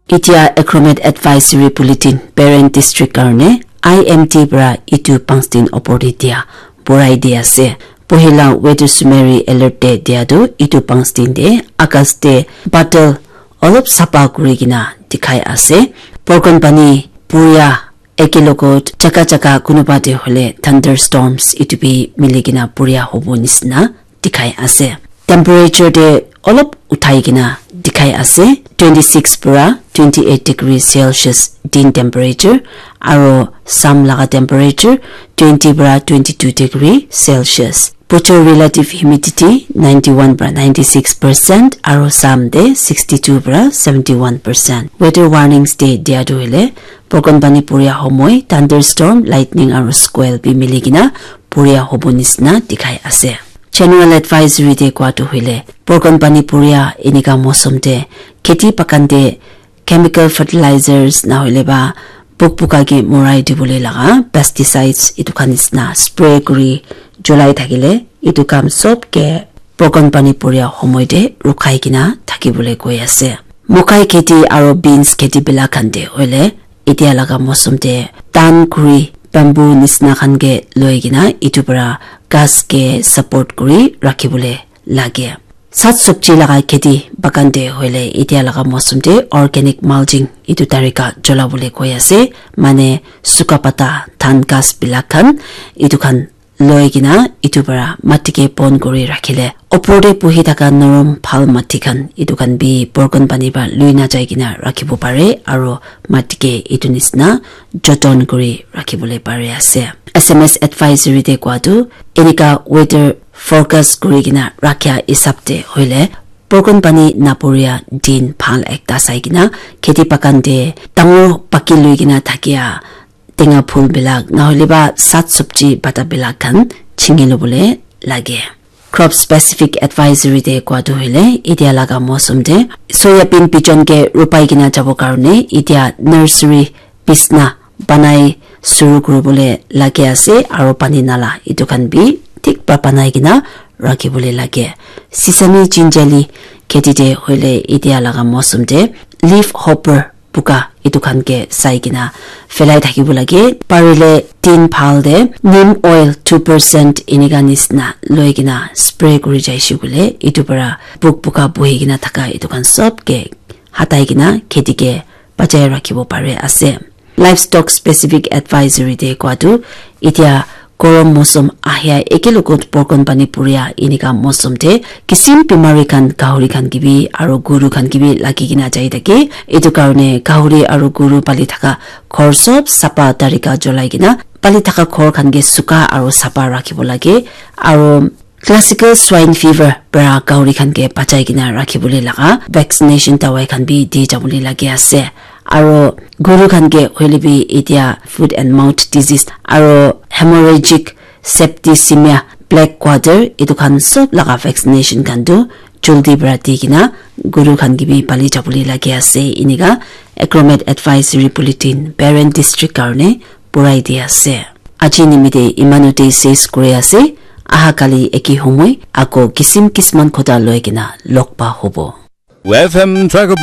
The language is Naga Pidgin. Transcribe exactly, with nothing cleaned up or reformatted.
Itia Acromet Advisory Bulletin Peren District karne I M D pra itu pangstin opor te dia borai di ase. Pohila weather summary alert te dia tu itu pangstin te August te badal olop sapa kuri kena dikhai ase. Borkon pani puria eke logot jaka jaka kunuba te hole thunderstorms itu bi mili kena puria hobo nisina dikhai ase. Temperature te olop uthai kena dikhai ase. Twenty-six pura twenty-eight degree Celsius din temperature, aro sam laga temperature twenty pura twenty-two degree Celsius. Bujor relative humidity ninety-one pura ninety-six percent, aro sam te sixty-two pura seventy-one percent. Weather warnings te dia tu hile, Borkon pani puria homoi, thunderstorm, lightning aro squall bi mili kena puria hobo nisina dikhai ase. General advisory te koa tu hoile, Borkon pani puria enika mosum te kheti bagan te chemical fertilizers na hoile ba buk buka ke morai dibole laga pesticides itu khan nisina spray kuri cholai thakile itu kam sob ke Borkon pani puria homoi te rukhai kena thakibole koi ase. Mokai kheti aro beans kheti bila khan te hoile, itia laga mosum te tan kuri bamboo nisina khan ke loi kena itu para ghas ke support kuri rakhibole lage. Sat sabji laga kheti bagan te hoile itia laga mosum te organic mulching itu tarika cholabole koi ase, mane suka pata, dhan ghas bila khan itu khan loi kena itu para mati ke pon kuri rakhile opor te buhi thaka norom bhal mati khan itu khan bi Borkon pani para lui na jai kena rakhibo pare aro mati ke itu nisina joton kuri rakhibole pare ase. S M S advisory te koa tu enika weather forecast kuri kena rakhia hisab te hoile Borkon pani napuria din bhal ekta sai kena kheti bagan te dangor paki lui kena thakia tenga phul bilak, nahole ba sat sabji pata bilak khan chingi lobole lage. Crop specific advisory te koa tu hoile, itia laga mosum te soya bean bijon ke rupai kena jabo karne itia nursery bisna banai suru kuribole lage ase, aro pani nala itu khan bi thik pa banai kena rakhibole lage. Sesame jinjali kheti te hoile itia laga mosum te leaf hopper buka itu khan ke sai kena phelai thakibo lage. Parile tin bhal te neem oil two percent enika nisina loi kena spray kuri jaise koile itu para buk buka buhi kena thaka itu khan sob ke hatai kena kheti ke bachai rakhibo pare ase. Livestock specific advisory te koa tu itia gorom mosum ahia eke logot Borkon pani puria enika mosum te kisim bimari khan gahuri khan ke bi aro guru khan ke bi lagi kena jai thake. Itu karne gahuri aro guru pali thaka ghor sob sapa tarika cholai kena pali thaka ghor khan ke suka aro sapa rakhibo lage. Aro classical swine fever para gahuri khan ke bachai kena rakhibole laga vaccination dawai khan bi di jabole lage ase. Aro guru khan ke hoile bi itia foot and mouth disease aro hemorrhagic septicemia, black quarter, itu khan sob laga vaccination khan tu joldi para di kena guru khan ke bi pali jabole lage ase. Enika Acromet Advisory Bulletin Peren District karne purai di ase. Aji nimite imanu te ses kuri ase. Aha kali eki homoi ako kisim kisman kota loi kena log pa hobo. F M Tracker